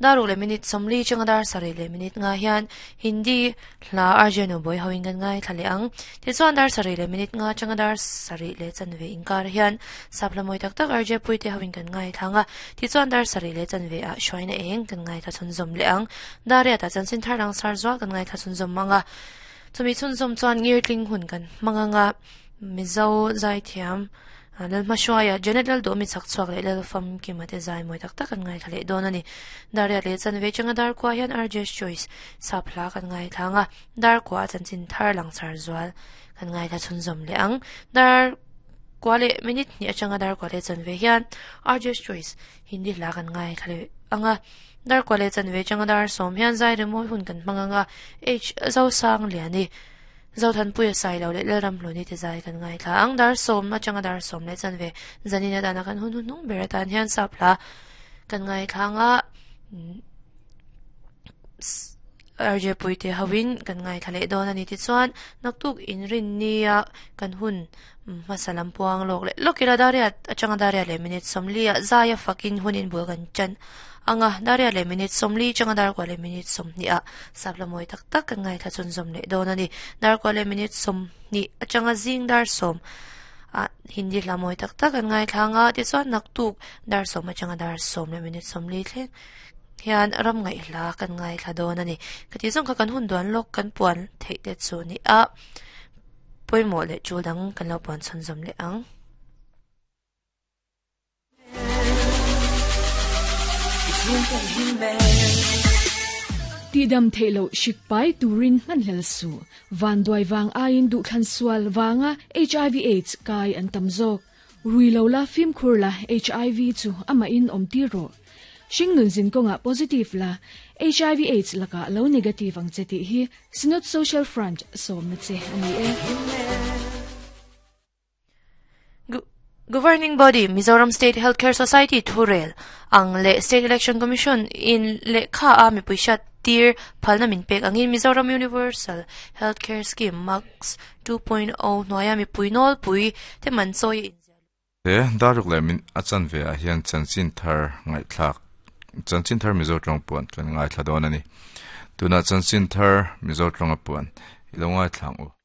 Dar ruk leh minute 40 changa dar 7 leh minute nga hian Hindi hla RJ Noboi hoin kan ngai thla leh ang. Tichuan dar 7 leh minute nga changa dar 7 leh chanve inkar hian sapla mawi tak tak RJ Puite hoin kan ngai thlanga. Tichuan dar 7 leh chanve ah hruaina eng kan ngai thla chhunzawm leh ang. Dar riat ah chanchin thar lang sar zual kan ngai thla chhunzawm anga. Chumi chhunzawm chuan ngirtling hun kan hmang anga Mizo zaithiam Lalhma hruaia Janet Lalduhmi chak chhuak leh Lalfam Kima te zai mawi tak tak kan ngaithla leh dawn a ni. Dar riat leh chanve changa dar kua hian RJ's Choice sap hla kan ngaithla anga dar kua a chanchin thar lang char zual kan ngaithla chhunzawm leh ang. Dar kua leh minute hnih atanga dar kua leh chanve hian RJ's Choice Hindi hla kan ngaithla leh anga dar kua leh chanve changa dar 10 hian zai remawi hun kan hmang anga H Zosang Liani Zothanpuia sai lo leh Lalramhluni te zai kan ngaithla ang. Dar 10 atanga dar 10 leh chanve zanin atana kan hun hun hnung ber atan hian sap hla kan ngaithla anga RJ Puite hoin kan ngaithla leh dawn ani tichuan naktuk inrin nia kan hun hmasa lam puang lawk leh lawk ila dar riat atanga dar riat leh minute 40 ah zai a fakin hunin bul kan chan anga dar riat leh minute 40 changa dar kwa leh minute 20 ah sapla mawi tak tak kan ngaithla chhunzawm leh dawn ani. Dar kwa leh minute 20 atanga zing dar 10 a Hindi hla mawi tak tak kan ngaithla anga tichuan naktuk dar 10 atanga dar 10 leh minute 40 thleng hian ram ngaih hla kan ngaithla dawn ani. Kati zawng kha kan hun duan lawk kan puan theih te chu ni a pawimawh leh tul dang kan lo puan chhunzawm leh ang. Ti dam theilo hrik pai turin hman hlel su. Van duai wang aiin duh thlan sual wanga HIV AIDS kai an tam zawk. Rui lo la fim khur la HIV chu ama in om ti ro. Hring nun zin konga positive la HIV AIDS laka lo negative ang che ti hi Synod Social Front som na che ani e. Governing Body Mizoram State Healthcare Society Thurel ang le State Election Commission in le kha a mi puisha tir phalna min pek angin Mizoram Universal Healthcare Scheme Max 2.0 hnuaia mi puinol pui te man chawi Te daruk leh min a chanve ah hian chanchin thar ngaihthlak chanchin thar Mizo tawng puan kan ngaithla dawn ani. Tunah chanchin thar Mizo tawnga puan i lo ngaithla ang u.